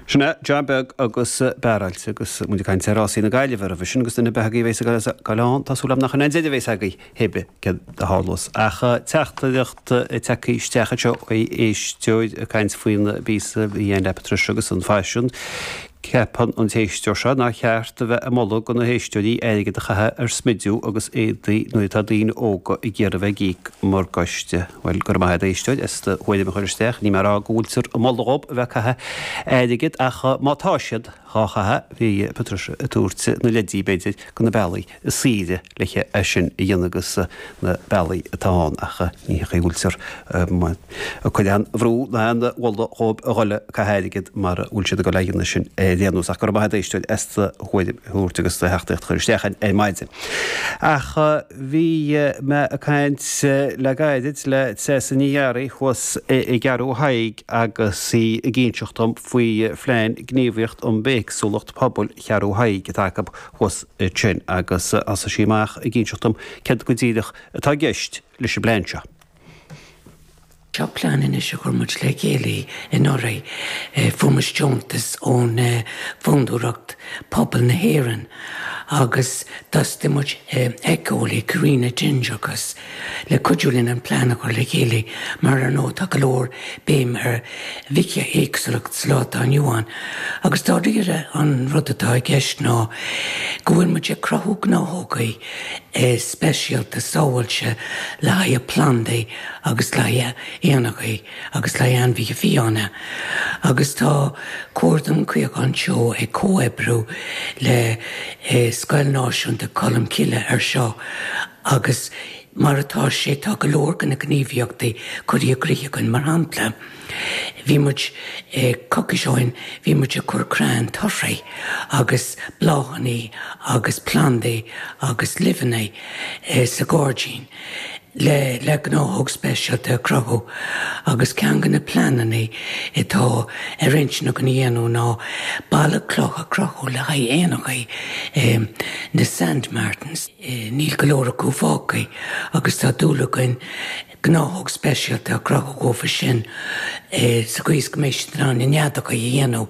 Sin é John Beag agus Bearáilte agus muid ag caint ar rásaí na Gaillimhe roimhe sin agus duine ar bith agaibh a bheas ag gabháil ann, tá súil agam nach in é an deireadh a bheas agaibh hé bith céard a tharlós. Ach teachtaireacht tagtha isteach anseo ó éisteoir ag caint faoin bpíosa a bhí ann le Patricia agus an faisean. Ceapann an t-éisteoir seo nár cheart a bheith ag moladh do na héisteoirí airgead a chaitheamh ar smidiú agus éadaí nuair atá daoine óga ag iarraidh a bheith ag íoc morgáiste. Bhuel, go raibh maith agat a éisteoir as do thuairim a chur isteach. Níl mé ag rá go bhfuiltear ag moladh dhób a bheith ag caitheamh airgid ach má tá siad dhá chaitheamh, bhí Patricia ag tabhairt na leidí, b'fhéidir, go na bealaí is saoire le é sin a dhéanamh agus na bealaí atá ann ach ní hé go bhfuiltear ag cur aon bhrú ná aon mholadh dhóibh a dhul ag caitheamh airgid mara bhfuil siad ag dul a dhéanamh sin ar aon nós. Ach go raibh maith agat a éisteoir as do thuairim a thabhairt agus do theachtaireacht a chur isteach ar maidin. Ach bhí mé ag caint le gairid le Treasa Ní Fhearraigh thuas i gCeathrú Thaidhg agus í ag inseacht dom faoi Phlean Gníomhaíocht um Bithéagsúlacht Pobail Cheathrú Thaidhg atá acu thuas ansin agus thosaigh sí amach ag inseacht dom céard go díreach atá i gceist leis an bplean seo. Seo plean anois a chuir muid le chéile anuraidh. Fuair muid deontas ón Fondúireacht Pobail na hÉireann agus d'fhostaigh muid éiceolaí, Karina Dingerkus, le cuidiú linn an plean a chur le chéile mar ar ndóigh tá go leor béim ar bhithéagsúlacht sa lá atá inniu ann. Agus dáiríre an rud atá i gceist ná go bhfuil muid ag cruthú gnáthógaí speisialta sábháilte le haghaidh plandaí agus le haghaidh éanachaí agus le haghaidh ainmhithe fiáine agus tá Comharchumann Caochán Teo ag comhoibriú le Scoil Náisiúnta Cholmcille ar seo agus mar atá sé tá go leor de na gníomhaíochtaí curtha i gcrích againn mar shampla bhí muid coicís ó shin bhí muid ag cur crainn torthaí agus bláthanna agus plandaí agus luibheanna sa ghairdín. le le gnáthóg speisialta a chruthú agus ceann de na pleananna atá ar intinn againn a dhéanamh ná balla cloch a chruthú le haghaidh éanachaí na sand martins. Níl go leor acu fágtha agus tá dúil againn gnáthóg speisialta a chruthú dhófa sin sa chaoi is go mbeidh siad in ann a neadacha a dhéanamh.